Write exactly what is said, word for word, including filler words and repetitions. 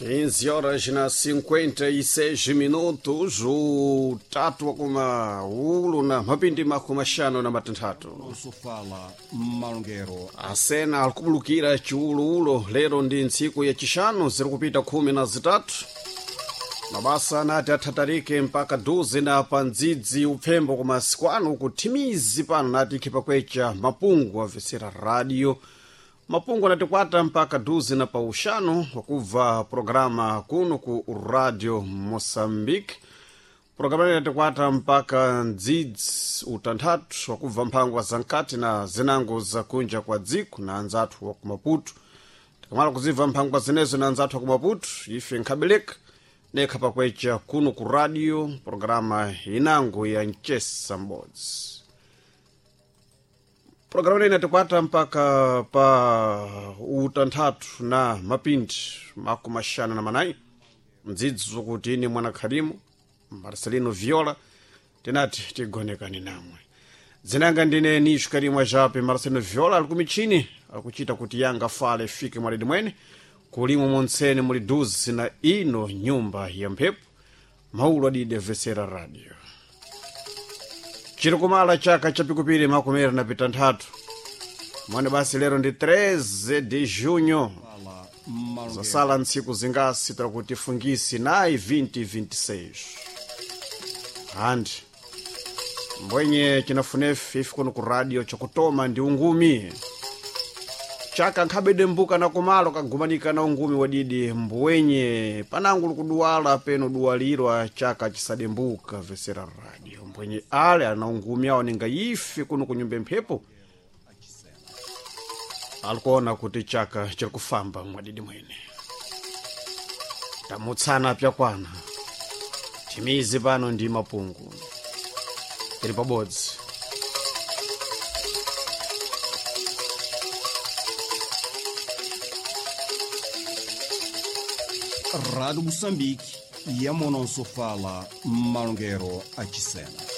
quinze horas na cinquenta e seis minutos, utatu wakuma ulu na mapindi makumi axanu na matanthatu. Sofala malongero. Asena alikubulukira chiuluulo lero ndi ntsiku yacixanu ziri kupita khumi na zitatu. Mabasa anati athatarike mpaka duze na pandzidzi upfembo kumasiku ano kuthimizi pano nati ikhipakwecha mapungu amvetsera radio mapungu anatikwata mpaka duze na pauxanu wakubva programa kuno ku Radio Moçambique. Programa inatikwata mpaka ndzidzi utanthatu wakubva mphangwa za nkati na zinango zakunja kwa dziko na anzathu wa kumaputu. Tikamala kuzibva mphangwa zinezo na anzathu wa kumaputu, ife nkhabeleka nekha pakwecha kuno ku radio programa inango ya mchesa m'bodzi. Programa ine inatikwata mpaka pa utanthatu na mapindi makumi axanu na manayi mdzidzi zokuti ine mwana Khalimu Marcelino Viola tinati tigonekani namwe. Dzinanga ndine Nisho Karimwa Jape. Marcelino Viola ali kumichini alikuchita kuti yanga fale fike mwalidi mwene kulimo montsene muli duzi na ino nyumba ya mphepo maulu adide vesera radio chiri kumala chaka chapikupiri makumi na pitanthatu mwene basi lero ndi treze de junho. Fala malongero. Zasala ntsiku zingasi takuti fungisi nayi vinte vinte e seis handi mbwenye chinafunefe ife kuno ku radio chakutoma ndi ungumi chaka nkhabede mbuka na kumalo kagumanika na ungumi wadidi mbwenye panango likuduwala peno duwalirwa chaka chisadembuka vesera radio mbwenye ale ana ungumi awo ninga ife kuno kunyumba mphepo alikuona kuti chaka chiri kufamba mwadidi mwene tamutsana pyakwana timizi pano ndi mapungu tiri pabodzi. Rádio Moçambique, Yamono Sofala, malongero achisena.